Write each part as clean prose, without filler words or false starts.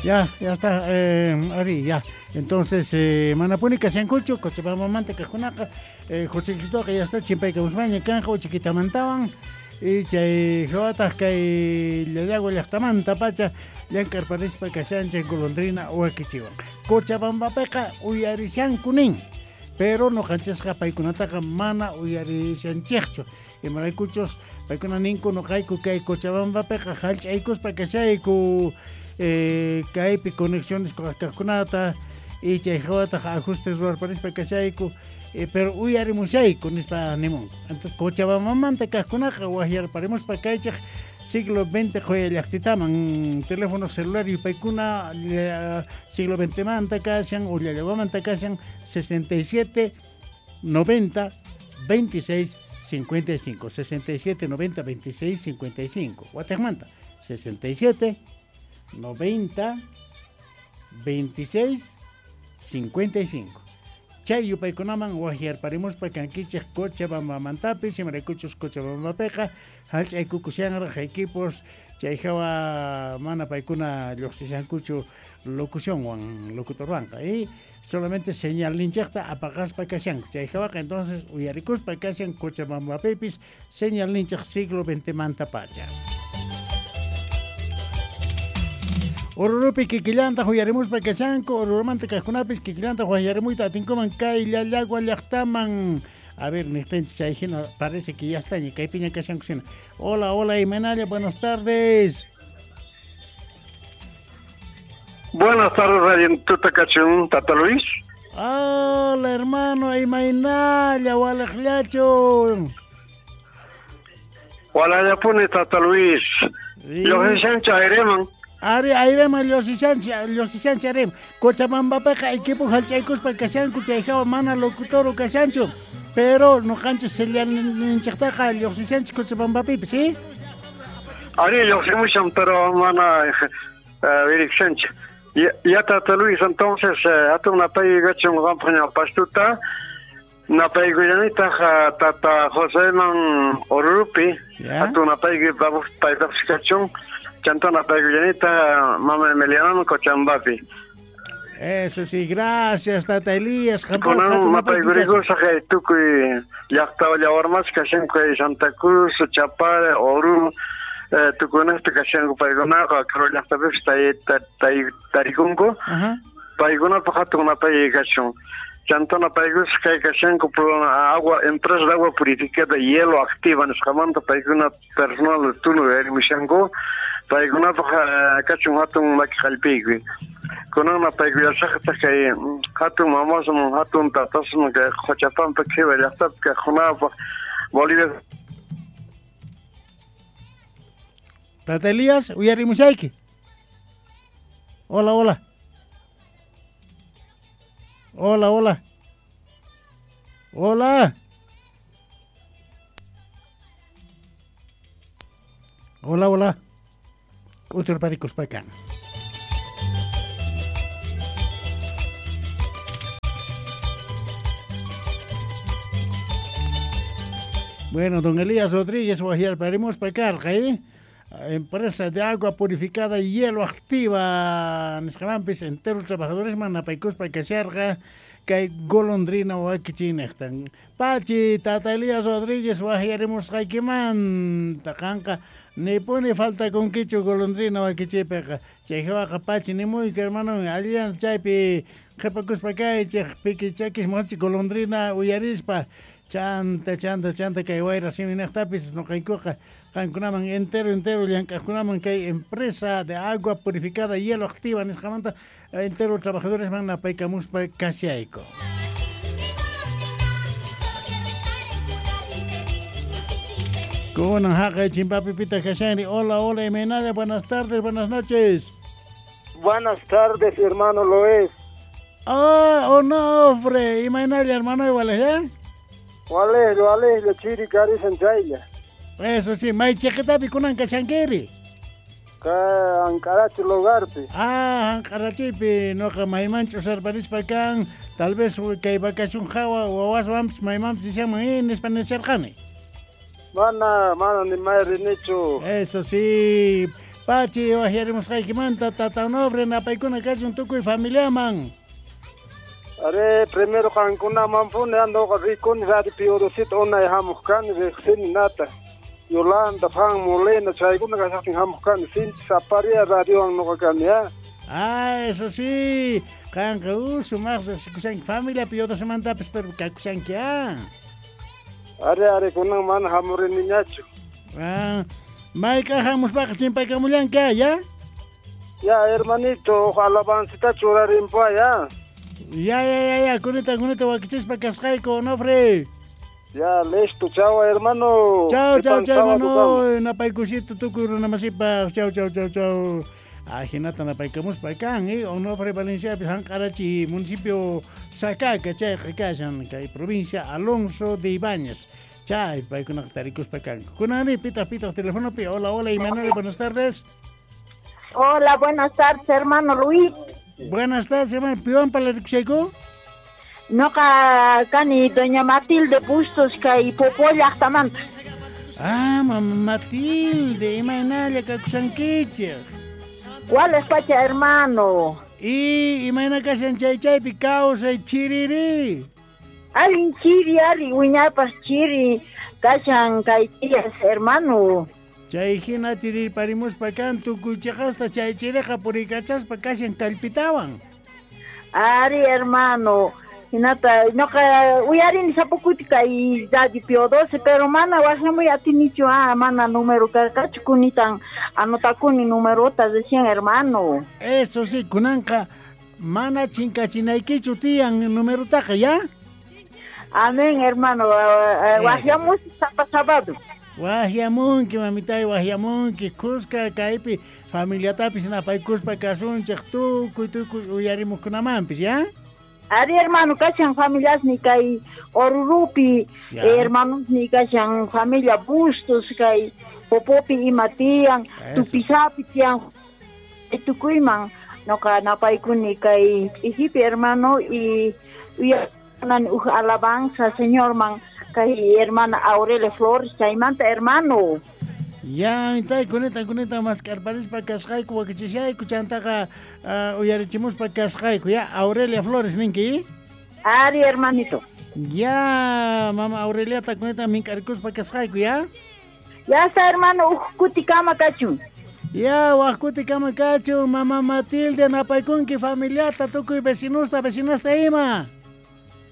Ya, ya está, Ari, ya. Entonces, manapuni kashankuchu, Cochabambamanta kajkunaqa, Josecitoqa ya está chimpaykamuspaña kanja uchikitamantawan, y chay jawataq kay Llallagua llaqtamanta pacha llank'arparispa kashanchik golondrina wakichiwan. Cochabambapiqa uyarishanku nin, pero noqanchisqa paykunataqa mana uyarishanchikchu. Imaraykuchus paykuna ninku noqayku kay Cochabambapiqa hallch'aykuspa kashayku, kaypi conexiones kajkunata y chay jawataq ajustes ruwarparispa kashayku, pero uyarimushayku nispa nimunku. Entonces Cochabambamanta kajkunaqa wajyarparimuspa kaychik siglo XX qhuya llaqtitaman teléfono celular yupaykuna siglo XX manta kashan o Llallaguamanta kashan 67 90 26 55, 67 90 26 55. Guatemala, 67 90 26 55. Chay yupaykunaman wajyarparimuspa kankichik Cochabambamantapis, imaraykuchus Cochabambapiqa hallch'aykukushanraq equipos chay hawa mana paykuna lluqsishankuchu locucionwan locutorwanqa y solamente señal ninchaqta apaqaspa kashanku chay hawaqa entonces uyarikuspa kashan Cochabambapipis señal ninchaq siglo XX manta pacha. Orurupi kikillanta uyarimuspa kashanku, Orurumanta kajkunapis kikillanta wajyarimuyta atinkuman kay Llallagua llaqtaman. A ver, niqtinchis chay hina parece que ya está, ña kaypiña kashanku hina. Hola, hola, Imenalla, buenas tardes. Buenas tardes, Radio Tutacachun, Tata Luis. Hola, hermano, Imainalla, walaqllachu. Walallapuni, Tata Luis. Lluqsishanchu ayriman. Ari, ayriman lluqsishanchu ayriman. Cochabambapiqa equipo hallch'aykuspa kashanku, chay hawa mana locutoro kashanchu. Pero noqanchis señalninchiktaqa lluqsishanchik Cochabambapipis, ¿sí? Ari, lluqsimushan, pero mana verikshanchik. Ya, Tata Luis, entonces, hatun napaykuykachun qampaq ñawpastuta, napaykullanitaq Tata Joseman Orurupi, hatun napaykuy paypaqpis kachun, chanta napaykullanitaq mama Emilianaman Cochabambapi. Eso sí, gracias, Tata Elías. Kunan napaykuriykusaq tukuy llaqta llawarmas kashanku kay Santa Cruz, Chapare, Oruro, tukunaqta kashanku paykunaqa karu llaqtapipis tarikunku. Paykunapaq hatun napaykuy kachun. Chanta napaykusaq kay kashanku agua, empresa de agua purificada hielo activa nisqamanta paykuna personal turno uyarimushanku. Paykunapaq kachun hatun maki qallpiykuy. Kunan napaykullasaqtaq kay hatun mamasman, hatun tatasman kay Qochapampa qhiwa llaqtapi kaqkunapaq Bolivia. Tata Elías, uyarimushayki. Hola, hola. Hola, hola. Hola. Hola, hola. K'uturparikuspakan. Bueno, don Elías Rodríguez, wajyarparimuspa karqa, ¿eh? Empresa de agua purificada y hielo activa nisqamanpis entero trabajadores napaykuspa kasharqa kay golondrina wakichiynejtan. Pachi, Tata Elías Rodríguez wajyarimusqaykimanta qanqa nipuni faltakunkichu golondrina wakichiypiqa. Chay hawaqa pachi nimuyku hermano, allillan chaypi qhipakuspa kaychik piki chakis munachi golondrina uyarispa chanta chanta chanta kay wayra siminejtapis noqaykuqa qankunaman entero entero llank'aqkunaman kay empresa de agua purificada y hielo activa nisqamanta entero trabajadores man napaykamuspa kashayku. Kunan haqay chimpapipita kashanri. Hola, hola, Imenalla, buenas tardes, buenas noches. Buenas tardes, hermano Loes. Ah, Onofre, Imenalla, hermano, igual, ¿eh? Wale, wale, chiri karisan chaylla. Eso sí, may chiqitapi kunan kashankiri. Ka Ankarachi lugarpi. Ah, Ankarachipi, noqa maymanchu usarparispa kan, tal vez kay vacación hawa wawaswanpis maymanpis nishanman nispa nisharqani. Mana, mana ni may rinichu. Eso sí, Pachi wajyarimusqaykimanta Tata Onofre napaykuna kachun tukuy familiaman. Are primero qankunamanpuni andoqa rikuni radio Pío XII unay hamuq kani riqsini nata. Yolanda, Juan Molina, chaykuna kashaqtin hamuq kani sinchi saparia radiowan noqa kani ya. Ah, eso sí. Qanqa sumaq riqsikushanki familia Pío XII-mantapis pero kakushanki ah. Are are kunan mana hamuriniñachu. Ah, mayk'aq hamuspaqa chimpaykamullanki ya? Ya, hermanito, alabancita churarinpua ya. Ya, ya, ya, ya, kunita, kunita wakichispa kasqayku, Onofre. Ya, listo, chao, hermano. Chao, chao, chao, hermano. Napaykusito tukuy runamasipaq. Chao, chao, chao, chao. Ajinata napaykamuspa kan, Onofre Valenciapis Janq'arachi, municipio Sacaca, chayqa kashan, kay provincia Alonso de Ibáñez. Chay, paykunaqa tarikuspa kanku. Kunani, pitaq, pitaq, telefonopi. Hola, hola, Imanol, buenas tardes. Hola, buenas tardes, hermano Luis. Buenas tardes, hermano. ¿Piwan palarikushayku? Noqa kani doña Matilde Bustos kay Popó llaqtamanta. Ah, mamá Matilde, imaynalla kakushankichik. ¿Cuál pacha, hermano? Y imayna kashan chay chaypi kawsay chiriri. Allin chiri, ari wiñaypas chiri kashan kay tías, hermano. Chay hina chirirparimuspa kan tukuy chiqasta chay chiriqa purikachaspa kashan kallpitawan. Ari, hermano. Hinata noqa uyarini sapa kuti kay radio Pío XII, pero mana waqllamuy atinichu, mana número karqachu kunitan anotakuni numerota recién, hermano. Eso sí, kunanqa mana chinkachinaykichu tiyan numerotaqa, ya? Amén, hermano. Waqllamus sapa sábado. Waqllamunki, mamitay, waqllamunki, kuska kaypi familiatapis napaykuspa kasunchik tukuy tukuy uyarimuqkunamanpis, ya? Ari, hermano, kashan familiasni kay Orurupi, hermanosni kashan familia Bustos kay Popopi ima tiyan, Tupisapi tiyan, tukuyman noqa napaykuni kay ch'ijipi, hermano, y uyanan uj alabanza señorman kay hermana Aurelia Flores chaymanta, hermano. Ya, mitay, kunita, kunita, maskarparispa kasqayku, wakichishayku, chantaqa uyarichimuspa kasqayku, ya, Aurelia Flores, ninki? Ari, hermanito. Ya, mama Aureliata, kunita, mink'arikuspa kasqayku, ya? Ya está, hermano, uj kutikama kachun. Ya, waj kutikama kachun, mama Matilde, napaykunki familiata, tukuy vecinusta, vecinasta ima.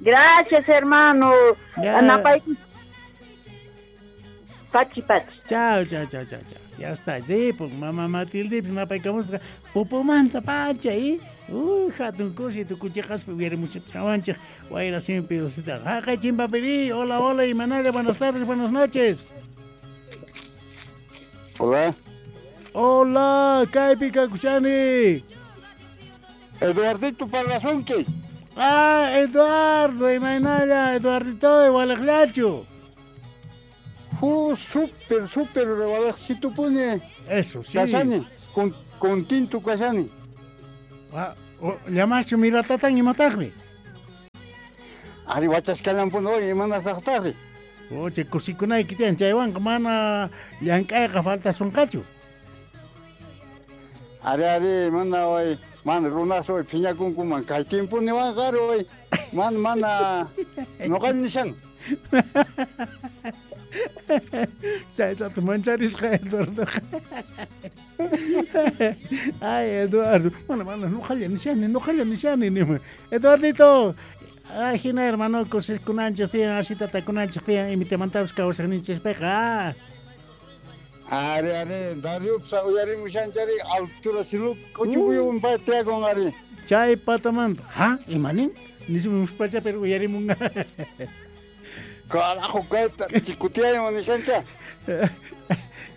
Gracias, hermano. Napaykunki. Pachi, pachi. Chao, chao, chao, chao, chao. Ya está, sí, pues mamá Matilde, pues napaykamuspa, pupumanta pacha, ¿eh? Uy, hatun kusi, tukuchiqaspi uyarimuchawanchik, wayra simpi dosita. Jaqay chimpapiri, hola, hola, Imanalla, buenas tardes, buenas noches. Hola. Hola, kaypi kakushani. Eduardito Parlasunki. Ah, Eduardo, imaynalla, Eduardito, waliqllachu. Súper, súper, pone. Eso, sí. Kashani, contento kashani. Ah, llamachu miratatan imataqmi. Ari wachaskallanpuni hoy imanasaqtaqri. Oche, kusikunayki tiyan chaywanqa mana llank'ayqa faltasunqachu. Ari, ari, mana hoy, mana runas hoy phiñakunkuman kay tiempuniwanqa ari hoy, mana, mana, noqalla nishan. Chay rato mancharisqa Eduardo. Ay, Eduardo, mana, mana, noqalla nishani, noqalla nishani, nima. Eduardito, ajina hermano, kusikunanchik tiyan, así tatakunanchik tiyan, imitamantapis kawsaqninchispiqa. Ari, ari, Dariupsa uyarimushanchari, altura silup, k'uchupuyun pay tiyakun ari. Chay patamanta, ha, imanin? Nismuspacha pero uyarimunqa. Carajo, kayta, chikutiyayman nishancha.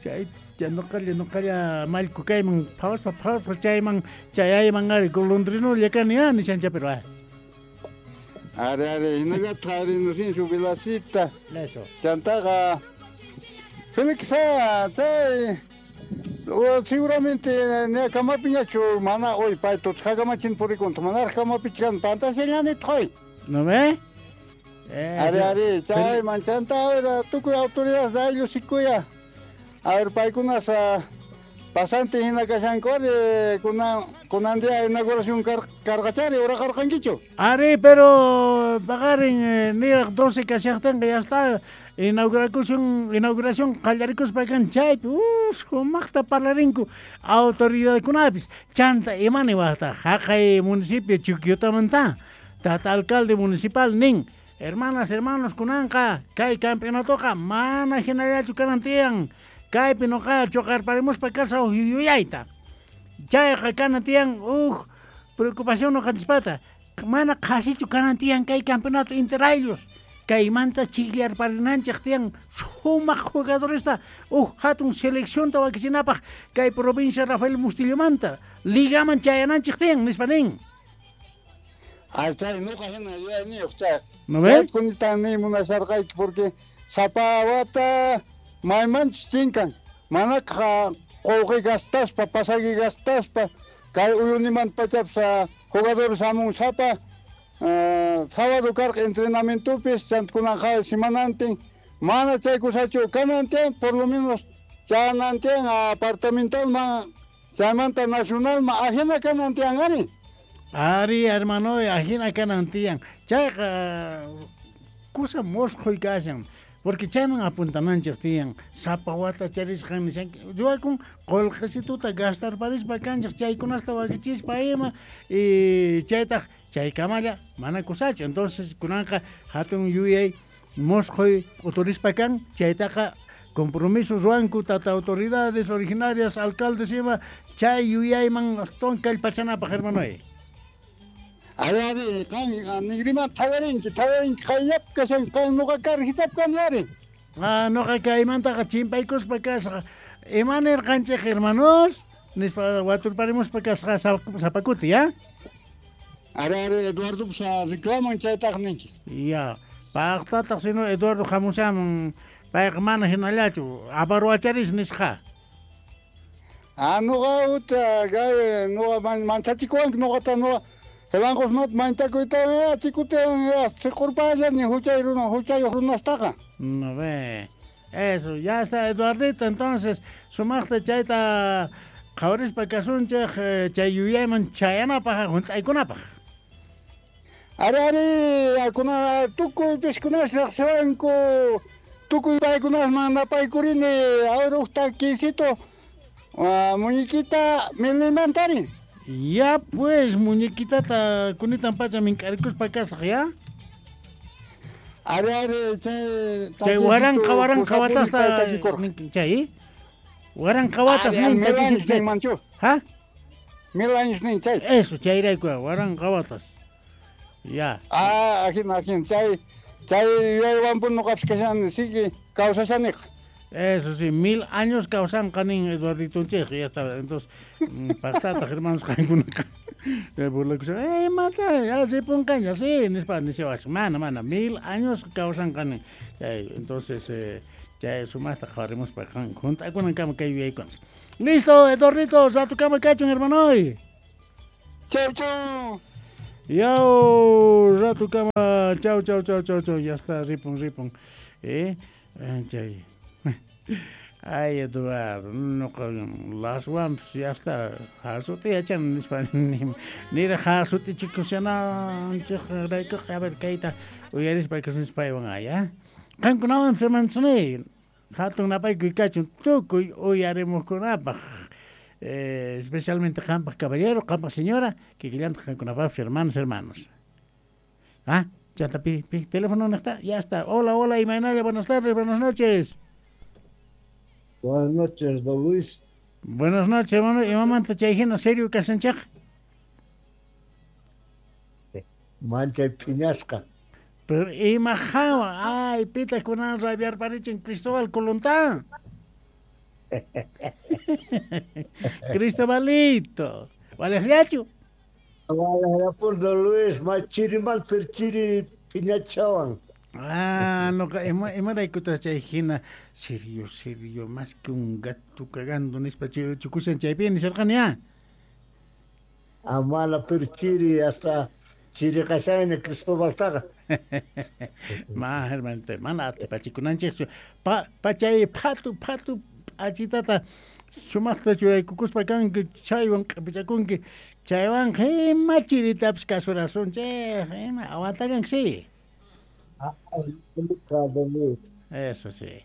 Chay, noqalla, noqalla, mallku kayman, phawaspa, phawaspa, chayman, chayayman ari, golondrinolla kani, ah, nishancha pero ah. Ari, ari, hinallataq ari nusinsu Vilasita. Eso. Chantaqa, Félix, chay, seguramente ña kamapiñachu mana hoy pay tutqakamachin purikunta, manaraq kamapichkan pantashallanitaq hoy. ¿No ve? Ari, ari, chay, manchanta, a ver, tukuy autoridades de ayllu sikuya. A ver, paykunas, Pasante hina kashanku ari kunan día inauguración karqachari uraqarqankichu. Ari, pero paqarin niraq 12 kashaqtinqa ya está inauguración qallarikuspa kan chaypi sumaqta parlarinku autoridadkunapis chanta imani waqta haqay municipio Chuquiotamanta tata alcalde municipal nin hermanas hermanos kunanqa kay campeonatoqa mana hinallachu kanan tiyan kaypi noqa choqarparimuspa kasaq yuyayta chayqa kanan tiyan uj preocupación noqanchispata mana qhasichu kanan tiyan kay campeonato interayllos kaymanta chiklarparinanchik tiyan sumaq jugadoresta uj hatun seleccionta wakichinapaq kay provincia Rafael Mustillomanta ligaman chayananchik tiyan nispa nin. Ay, chay nuqa hina yuyayniyuq chay. ¿No ves? Chaykunita niy munasharqayki porque sapa wata maymanchus chinkan manaqa qullqi gastaspa pasaqi gastaspa kay uyunimanta pachapis jugadores hamun sapa sábado karqa entrenamientopis chanta kunanqa semanantin mana chay kusachu kanan tiyan por lo menos chanan tiyan apartamentalman chaymanta nacionalman ajina kanan tiyan ari. Ari hermano ajina kanan tiyan chayqa kusa mosqhuy kashan porque chayman apuntananchik tiyan sapa wata charisqan nishanki ruwakun qullqisituta gastarparispa kanchik chaykunasta wakichispa ima y chaytaq chaykamalla mana kusachu entonces kunanqa hatun yuyay mosqhuy uturispa kan chaytaqa compromiso ruwanku tata autoridades originarias alcaldes ima chay yuyayman astawan kallpachanapaq hermanoy. Ari ari qan nigriman thawarinki qayllap kashan qan nuqa karjitap kani ari. Ah, nuqa kaymantaqa chimpaykuspa kasqa ima nirqanchik hermanos nispa waturparimuspa kasqa sapakuti ya. Ari ari Eduardo pues reclaman chaytaq ninki. Ya, paqtataq sino Eduardo hamushamun payqa mana hinallachu aparwacharis nisqa. Ah, nuqa uta gay nuqa manchachikuwanki nuqata nuqa Jelancos not manchakuyta chikute siqurpallani huchay runa huchayuq runastaqa. No ve. Eso, ya está Eduardito, entonces sumaqta chayta qhawarispa kasunchik chay yuyayman chayanapaq hunt'aykunapaq. Ari ari kuna tukuy pishkunas riqsiwanku tukuy paykunasman napaykurini ahora uqta quisito muñequita milimantari. Ya pues, muñequitata kunitan pacha mink'arikuspa kasaq ya. Ari ari chay chay waranqa waranqa watasta chay waranqa watas nin takisito chay manchu. ¿Ja? 1000 años nin chay. Eso chayrayku waranqa watas. Ya. Ah, ajina ajina chay chay yuyaywanpun nuqapis kashani sigue kawsashaniqa. Eso sí, 1000 años kawsanqa nin Eduarditonchik, ya está. Entonces, paqtataq hermanos qankunaqa burlakushan, mata, ya se ponqaña, sí, nispa nishawash, mana, mana, 1000 años kawsanqa nin. Entonces, chay sumaqta qhawarimuspa junt'akunankama kay yuyaykunas. Listo, Eduardito, ratukama kachun, hermanoy. Chau, chau. Yau, ratukama, chau, chau, chau, chau, chau, ya está, ripun, ripun. Chay. Ay, Eduardo, nuqa laswanpis ya está, hasuti yachan nispa nira hasuti chikushananchik raykuqa a ver kayta uyarispa kasunchis paywan aya. Qankunawan hermanosniyy, hatun napaykuy kachun tukuy uyarimuqkunapaq, especialmente qampaq caballero, qampaq señora, kikillantaq qankunapaqpis hermanos, hermanos. Ah, chanta pi, pi, teléfono niqta, ya está. Hola, hola, imaynalla, buenas tardes, buenas noches. Buenas noches, don Luis. Buenas noches, hermano. Imamanta chay hina serio kashanchik? Manchay phiñasqa. Pero ima hawa, ay, pitaq kunan rabiarparichin Cristóbal Colontán. Cristobalito. Walejllachu. Walejllapun, don Luis, may chiriman pero chiri phiñachawan. Ah, no, imaraykutaq chay hina serio, serio, más que un gato cagando nispa chukushan chaypi nisharqani ya. Ah, mala pero chiri hasta chiri kashani Cristobaltaqa. Ma, hermanito, mana atipachikunanchikchu. Pa chay phatu phatu p'achitata Sumaqta churaykukuspa kanki, chaywan q'ipichakunki, chaywanqa ima chiritapis kasurasunchej, ima aguantallanki sí. Eso sí.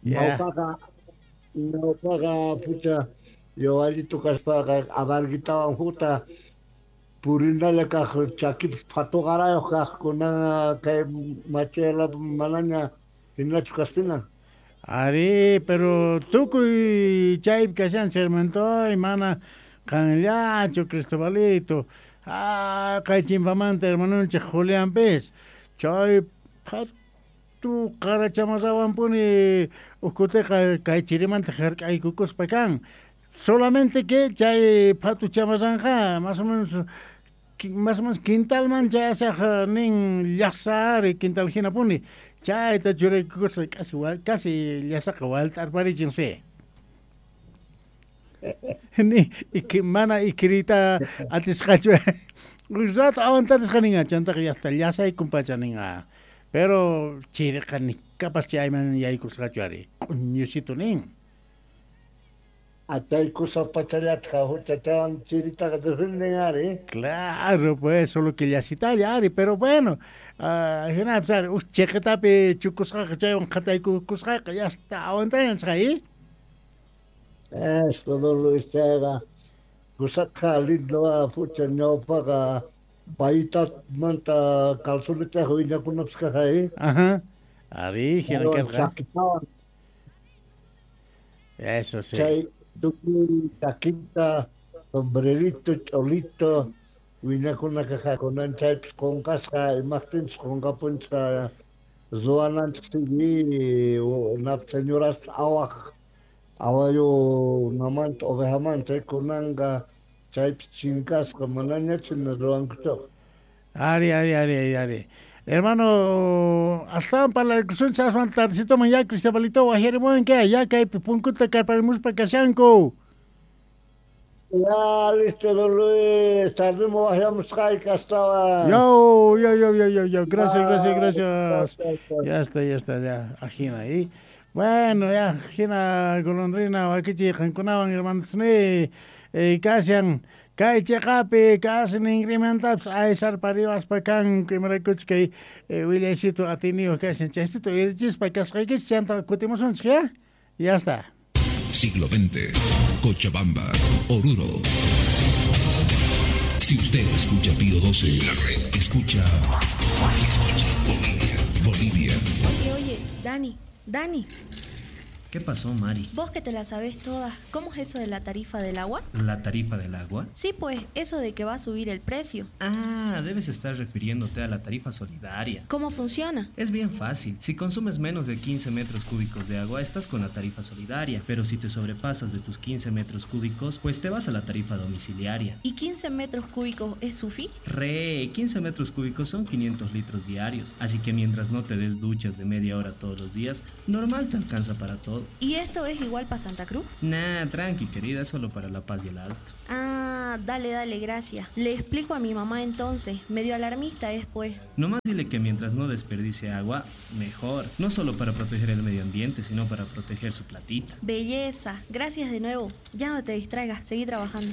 Ñawpaqa ñawpaqa pucha yawallito kaspaqa abarguitawan hukta purinalla kaq chakipis phatuqarayuq kaq kunan kay machayla manaña hinachu kaspina. Ari, pero tukuy chaypi kashan hermanitoy, mana qanllachu Cristobalito. Ah, kay chimpamanta hermanonchik Julianpis, chay phatu qara chamarrawanpuni uj kutiqa kay chirimanta hark'aykukuspa kan. Solamente que chay phatu chamarranqa más o menos quintalman chayasaj nin llasa ari quintal hinapuni. Chayta churaykukuspa casi casi llasaqa walt'arparichin sí. Ni mana ikirita atisqachu. Uj rato aguantarisqa ninqa chantaqa llaqta llasaykunpacha ninqa. Pero chiriqa ni kapas chayman yaykusqachu ari q'uñusito nin. Chay kusa pachallatqa huchachawan chiritaqa defenden ari. Claro, pues, solo que llasitalla ari, pero bueno, hinapis ari uj chiqitapi chukusqaqa chaywan qhataykukusqaqa ya está aguantayanchik ahí. Eso, don Luis, chayqa kusaqa lindo pucha ñawpaqa payitamanta calzonetaqa wiñakunapis kaq ahí. Ajá. Ari, hina karqa. Eso sí. Chay tukuy chaquita, sombrerito, cholito, wiñakuna kaq kunan chaypis qunqasqa imaqtinchus qunqapunchqa ruwananchik sigui nap señoras awaq awayu namanta ovejamanta kunanqa chaypis chinkasqa manañachu ruwankuchaq. Ari, ari, ari, ari. Hermano, astawan parlarkusunchik aswan tardecitoman ya Cristobalito wajyarimuwanki ya kaypi punkuta karparimuspa kashanku. Ya, listo, don Luis, tardemos wajyamusqayki astawan. Yo, yo, yo, yo, yo, yo, gracias, gracias, gracias. Ya está, ya está, ya, ajina ahí. Bueno, ya, hina golondrina wakichi qankunawan hermanos ni kashan kay chiqapi kasi ninrimantapis aysarpariwaspa kanku imaraykuchus kay willaysitu atiniyuq kashan chaystito irichispa kasqaykichik chanta kutimusunchik ya. Ya está. Siglo XX, Cochabamba, Oruro. Si usted escucha Pío 12, la red escucha, escucha Bolivia, Bolivia. Oye, oye, Dani, Dani. ¿Qué pasó, Mari? Vos que te la sabés todas, ¿cómo es eso de la tarifa del agua? ¿La tarifa del agua? Sí, pues, eso de que va a subir el precio. Ah, debes estar refiriéndote a la tarifa solidaria. ¿Cómo funciona? Es bien fácil. Si consumes menos de 15 metros cúbicos de agua, estás con la tarifa solidaria. Pero si te sobrepasas de tus 15 metros cúbicos, pues te vas a la tarifa domiciliaria. ¿Y 15 metros cúbicos es sufi? Re, 15 metros cúbicos son 500 litros diarios. Así que mientras no te des duchas de media hora todos los días, normal te alcanza para todo. ¿Y esto es igual para Santa Cruz? Nah, tranqui, querida, solo para La Paz y el Alto. Ah, dale, dale, gracias. Le explico a mi mamá entonces, medio alarmista después. Nomás dile que mientras no desperdicie agua, mejor. No solo para proteger el medio ambiente, sino para proteger su platita. Belleza, gracias de nuevo. Ya no te distraigas, seguí trabajando.